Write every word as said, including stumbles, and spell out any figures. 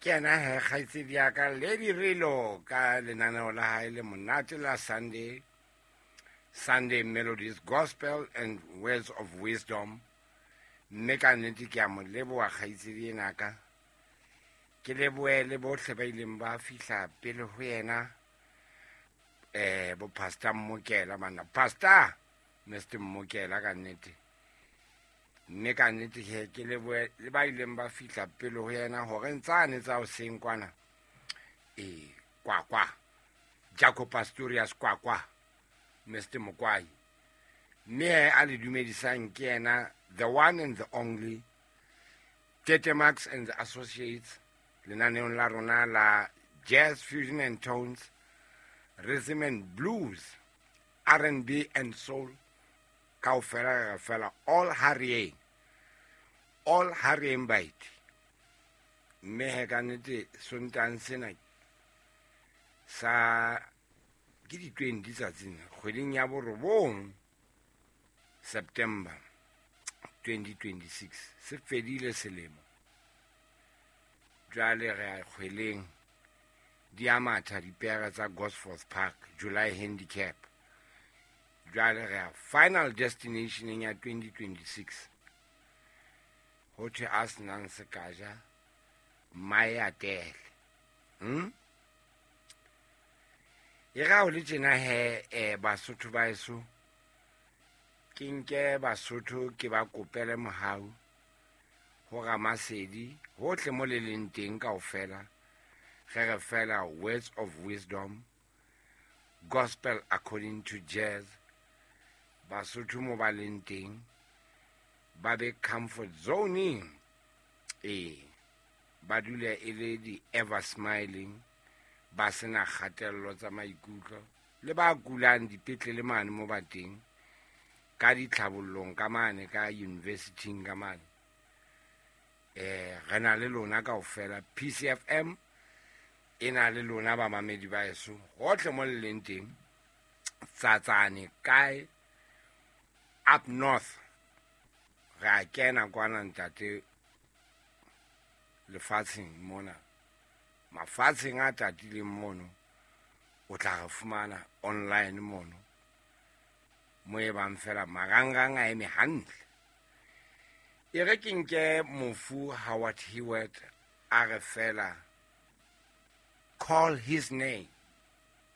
Ke yena he kgaitsedi ya ka Lady Relo ka lenaneo la hae le monate la Sunday Sunday Melodies Gospel and Words of Wisdom. Mme ka nnete ke a mo leboha kgaitsedi ena ka. Ke lebohe le bohle ba ileng ba fihla pele ho yena, eh bo Pastor Mmokela bana. Pastor Mister Mmokela ka nnete. Mme ka nnete he ke lebohe le ba ileng ba fihla pele ho yena hore ntsane tsa hoseng kwana. Eh kwa kwa. Jaco Pastorius kwa kwa. Mister Mokwai. Mme a le dumedisang ke yena the one and the only Tete Max and the Associates lenaneong la rona la Jazz Fusion and Tones, Rhythm and Blues, R and B and Soul. Kaofela re fela all harrying, all harrying bite. Mme he ka nnete Sontang sena sa ke di twenty tsatsing kgweding ya borobong September twenty twenty-six se fedile selemo. Jwale re a kgweleng di a matha dipere tsa Gosforth Park July Handicap. Jwale re a final destination ya twenty twenty-six. Ho thwe a senang sekaja mmae a tele. Hmm? E ra ho le tjena he, eh, Basotho ba heso, ke nke Basotho ke ba kopele mohau ho Ramasedi hohle mo le leng teng kaofela. Re re fela words of wisdom, gospel according to jazz. Basotho mo ba leng teng ba be comfort zoning, eh ba dule e le di ever smiling, ba sena kgatello tsa maikutlo, le ba kulang dipetlele mane mo ba teng, ka ditlhabollong ka mane, ka university-ing ka mane. Eh, re na le lona kaofela. P C F M e na le lona ba mamedi ba heso hohle mo le leng teng, Tsatsane kae, up north re a kena kwana ntate lefatsheng mona, mafatsheng a tatileng mono, o tla re fumana online mono mo e bang fela marangrang a eme hantle. E re ke nke mofu Howard Hewett a re fela call his name.